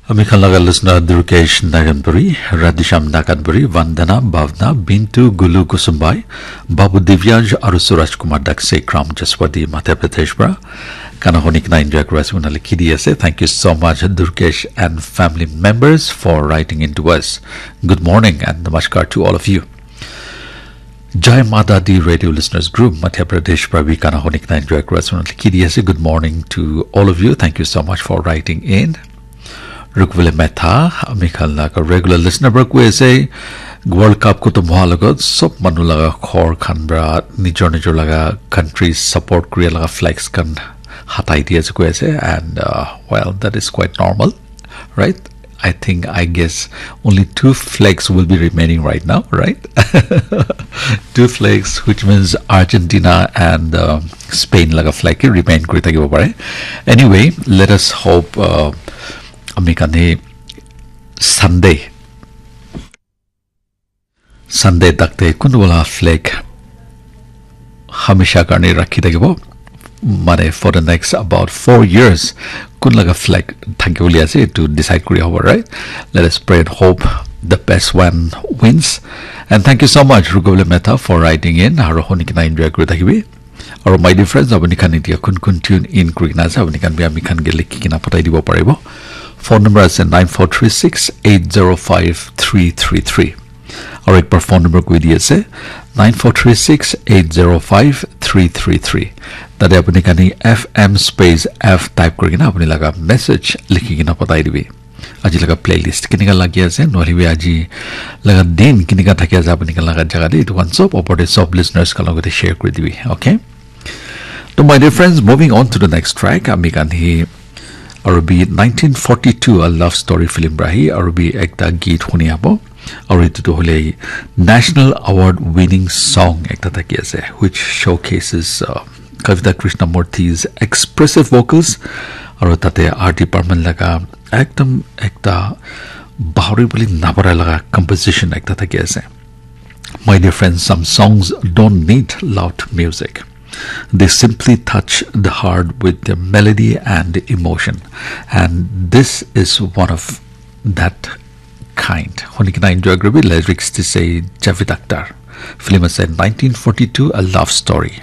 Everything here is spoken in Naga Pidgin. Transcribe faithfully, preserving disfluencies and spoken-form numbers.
Ami khan laga listener Durkesh Naganpuri, Radhisham Naganpuri, Vandana, Bhavna, Bintu, Gulu Kusumbai, Babu Divyansh, aru Suraj Kumar Dakse, Kram Jaswati, Madhya Pradesh pra. Gana huni kena enjoy kuri ase, unali likhi di ase. Thank you so much, Durkesh and family members, for writing in to us. Good morning and namaskar to all of you. Jai Mata Di Radio Listeners Group, Madhya Pradesh pra bi gana huni kena enjoy kuri ase, unali likhi di ase. Good morning to all of you. Thank you so much for writing in. Rukvile Metha, ami khan laga regular listener pra koi ase, World Cup khatam hoa lagat sob manu laga ghor khan pra nijor nijor laga country support kuri laga flags khan hatai di ase koi ase, and uh, well, that is quite normal, right? I think, I guess, only two flags will be remaining right now, right? Two flags, which means Argentina and uh, Spain laga flag ke remain kuri thakibo pare. Anyway, let us hope uh, ami khan hi Sunday, Sunday takte kunwala flag hamisha karne rakhi thakibo. Mane for the next about four years, kun laga flag thaki bole ase to decide kuri hobo, right? Let us pray and hope the best one wins. And thank you so much, Rukvile Metha, for writing in. Aru huni kena enjoy kuri thakibi. Aru my dear friends, apuni khan etia kun kun tune in kuri kena ase, apuni khan bi ami khan ke likhi kena patai dibo paribo. Phone number ase nine four three six eight zero five three three three. Aru ekbar phone number koi di ase, nine four three six eight zero five three three three. Tate apuni khan F M space F type kuri kena apuni laga message likhi kena patai dibi. Aji laga playlist kenika lagi ase, nohole bi aji laga din kenika thaki ase apuni khan laga jaga te, etu khan sob opor te sob listeners khan logote share kuri dibi, okay? To my dear friends, moving on to the next track, ami khan hi aru bi nineteen forty-two a love story film pra hi aru bi ekta geet huni abo. Aru etu tu hole national award winning song ekta thaki ase, which showcases uh, Kavita Krishnamurthy's expressive vocals. Aru tate art department laga ekdam ekta bahuri bole nabara laga composition ekta thaki ase. My dear friends, some songs don't need loud music. They simply touch the heart with their melody and emotion. And this is one of that kind. Huni kena enjoy kuri bi, lyrics te ase Javed Akhtar. Film ase nineteen forty-two, A Love Story.